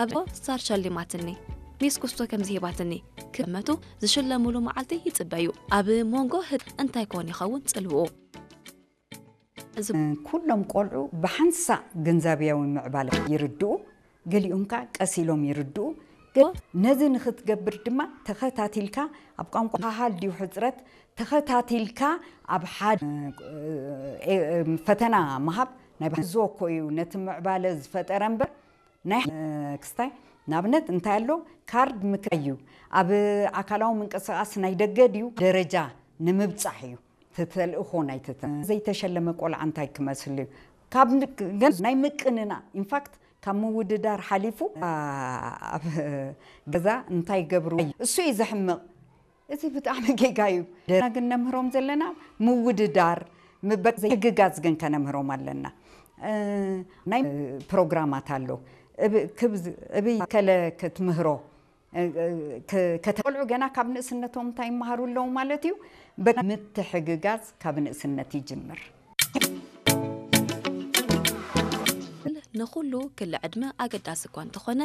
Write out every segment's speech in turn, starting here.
ኣብ ስታር ሸሊማትኒ፣ ሚስ ኩስቶ ከምዚ ሂባትኒ ክመቱ ዝሽለሙሉ መዓልቲ ይጽበዩ። ኣብ መንጎ ህጥ እንታይ ኮን ይኸውን ጽልውኡ? እዚ ኩሎም ቆልዑ ብሓንሳእ ግንዛብያዊ ምዕባለ ይርድኡ፣ ገሊኦም ከኣ ቀስ ኢሎም ይርድኡ። ገ- ነዚ ንኽትገብር ድማ ተኸታቲልካ ኣብ ቋንቋ ሃሃል ድዩ ሕፅረት ተኸታቲልካ ኣብ ሓደ እ፣ እ፣ ፈተና ምሃብ ናይ ባህ- እዞ እኮ እዩ ነቲ ምዕባለ ዝፈጠረ እምበር ናይ እ፣ ክስታይ ንኣብነት እንታይ ኣሎ ካርድ ምክራይ እዩ ኣብ ኣካላዊ ምንቅስቃስ ናይ ደገ ድዩ ደረጃ ንምብፃሕ እዩ ተልእኾ ናይ ትተ ዘይተሸለመ ቆልዓ እንታይ ክመስል እዩ ካብ ን- ገን ናይ ምቅንና ኢንፋክት ካብ ምውድዳር ሓሊፉ ኣ- ኣብ ገዛ እንታይ ገብሩ እሱ እዩ ዘሕምቕ እዚ ብጣዕሚ ጌጋ እዩ ደና ግን ነምህሮም ዘለና ምውድዳር ምበ ዘይሕግጋዝ ግን ከነምህሮም ኣለና እ፣ ናይ ፕሮግራማት ኣሎ እብ- ክብ- እብይ ከለ ክትምህሮ እ፣ እ፣ ከ- ከተቆልዑ ገና ካብ ንእስነቶም እንታይ ይመሃሩ ኣለዉ ማለት እዩ በ- ምትሕግጋዝ ካብ ንእስነት ይጅምር ንኹሉ ክሊ ዕድመ ኣገዳሲ እኳ እንተኾነ፣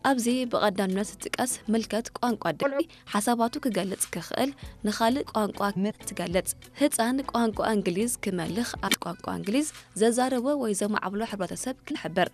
ኣብዚ ብቐዳምነት ዝጥቀስ ምልከት ቋንቋ ድሕሪ ሓሳባቱ ክገልጽ ክኽእል ንኻልእ ቋንቋ ትገልጽ። ህጻን ቋንቋ እንግሊዝ ክመልኽ ኣብ ቋንቋ እንግሊዝ ዘዛረቦ ወይ ዘማዕብሎ ሕብረተሰብ ክሕብር።